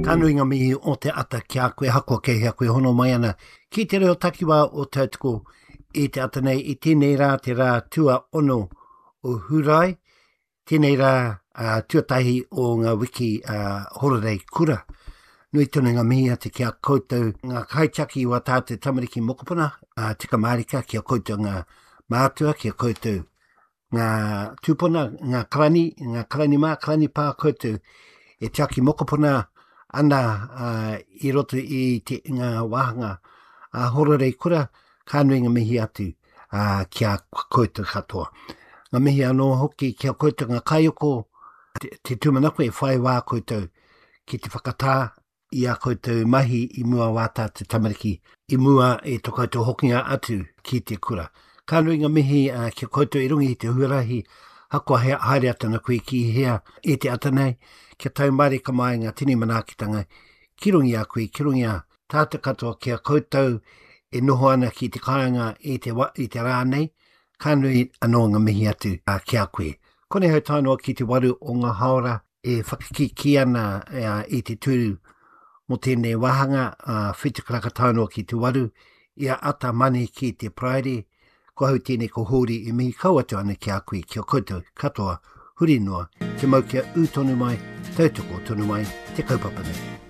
Ka nui ngā mihi o te ata ki a koe, ahakoa kei hea koe hono mai ana ki te reo takiwā o Tautoko i te ata nei, i tēnei rā te rā tuaono o Hurae, tēnei rā uh, tuatahi o ngā wiki uh, hororei kura. Nui tonu ngā mihi atu ki a koutou ngā kaitiaki o ā tātou tamariki mokopuna, uh, tika mārika ki a koutou ngā mātua, ki a koutou ngā tūpuna, ngā karani, ngā karani mā, karani pā koutou e tiaki mokopuna ana uh, i roto i te, ngā wāhanga a Hororei Kura, ka nui ngā mihi atu uh, ki a koutou katoa. Ngā mihi anō hoki ki a koutou ngā kaiako, te, te tūmanako e whai wā koutou ki te whakatā i a koutou mahi i mua wā tātou tamariki, i mua i to koutou hokinga atu ki te kura. Ka nui nga mihi uh, ki a koutou i runga i te huarahi, hakoa he, haere atu ana koe ki hea i te ata nei, kia tau mārika mai ngā tini manaakitanga ki runga i a koe, ki runga i a tātou katoa ki a koutou e noho ana ki te kāinga i te, wa, i te rā nei, ka nui anō ngā mihi atu uh, ki a koe. Konei hau tae noa ki te waru o ngā haora e whakakīkī ana i te tūru mō tēnei wāhanga, ā, whitu karaka tae noa ki te waru, i a Ata Mani ki te Paraire, ko ahau tēnei ko Hōri e mihi kau atu ana ki a koe, ki a koutou katoa, huri noa, kia mau kia ū tonu mai, tautoko tonu mai te kaupapa nei.